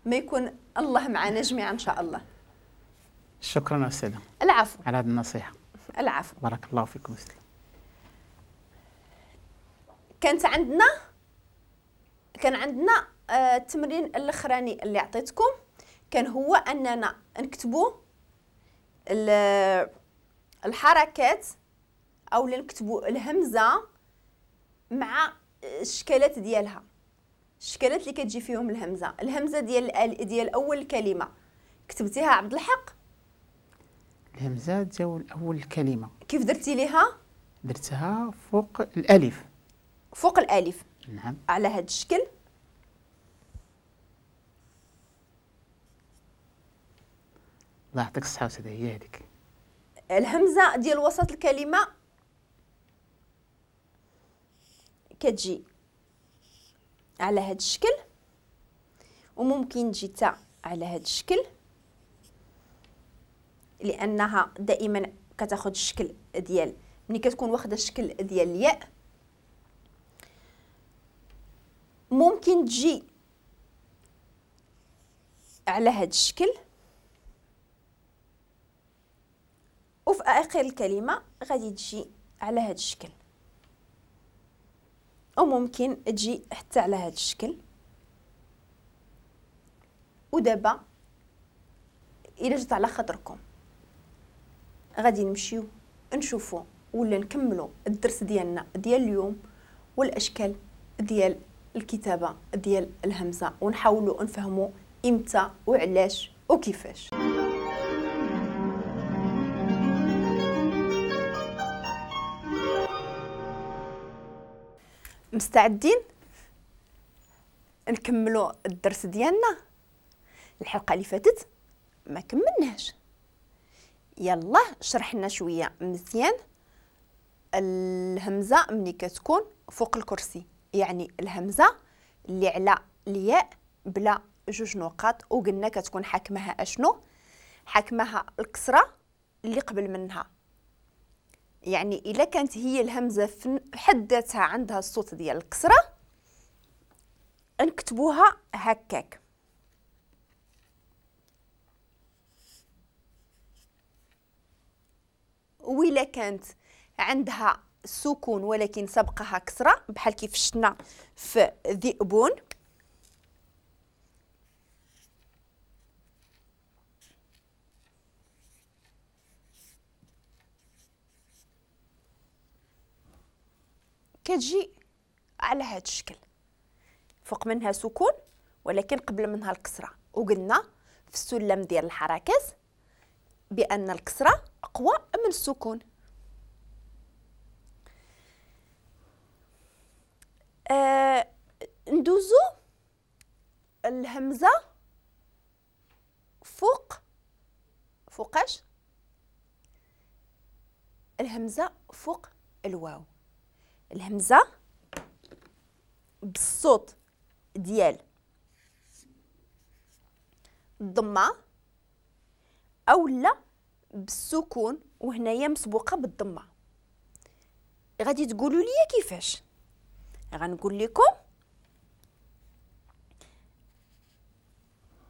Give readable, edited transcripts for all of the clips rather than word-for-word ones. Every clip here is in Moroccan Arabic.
ما يكون الله معنا جميعا ان شاء الله. شكرا استاذه. العفو على هذه النصيحة. العفو، بارك الله فيكم استاذ. كان عندنا التمرين الاخراني اللي عطيتكم كان هو اننا نكتبوا الحركات او نكتبوا الهمزة مع الشكلات ديالها، الشكلات اللي كتجي فيهم الهمزة. الهمزة ديال اول كلمة كتبتيها عبد الحق؟ الهمزة ديال اول كلمة كيف درتي ليها؟ درتها فوق الالف. فوق الالف، نعم، على هذا الشكل. الله يعطيك الصحة أستاذة، هي هذيك الهمزة ديال وسط الكلمة كتجي على هذا الشكل، وممكن تجي حتى على هذا الشكل لأنها دائما كتاخذ الشكل ديال ملي كتكون واخده الشكل ديال الياء. ممكن تجي على هذا الشكل، وفي آخر الكلمة غادي تجي على هذا الشكل، وممكن تجي حتى على هذا الشكل. ودابا إلا جات على خاطركم غادي نمشيو نشوفو ولا نكملو الدرس ديالنا ديال اليوم والأشكال ديال الكتابة ديال الهمزة، ونحاولوا نفهموا إمتى وعلاش وكيفاش. مستعدين نكملوا الدرس ديالنا؟ الحلقة اللي فاتت ما كملناش، يلا شرحنا شوية مزيان الهمزة ملي كتكون فوق الكرسي، يعني الهمزة اللي على الياء بلا جوج نقاط، وقلنا كتكون حاكمها اشنو؟ حاكمها الكسرة اللي قبل منها، يعني الا كانت هي الهمزة في حد ذاتها عندها الصوت ديال الكسرة نكتبوها هكاك. وإلا كانت عندها سكون ولكن سبقها كسرة بحال كيف شفنا في ذئبون، كتجي على هذا الشكل، فوق منها سكون ولكن قبل منها الكسرة. وقلنا في السلم ديال الحركات بأن الكسرة أقوى من السكون. ندوزو الهمزة فوق، فوقاش؟ الهمزة فوق الواو. الهمزة بالصوت ديال الضمة أو لا بالسكون، وهنايا مسبوقة بالضمة. غادي تقولوا لي كيفاش؟ غنقول لكم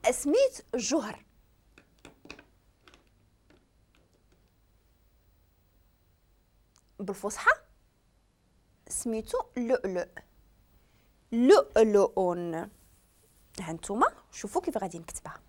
اسميت الجوهر. بالفصحى سميتو لؤلؤ، لؤلؤ. هانتوما شوفوا كيف غادي نكتبها.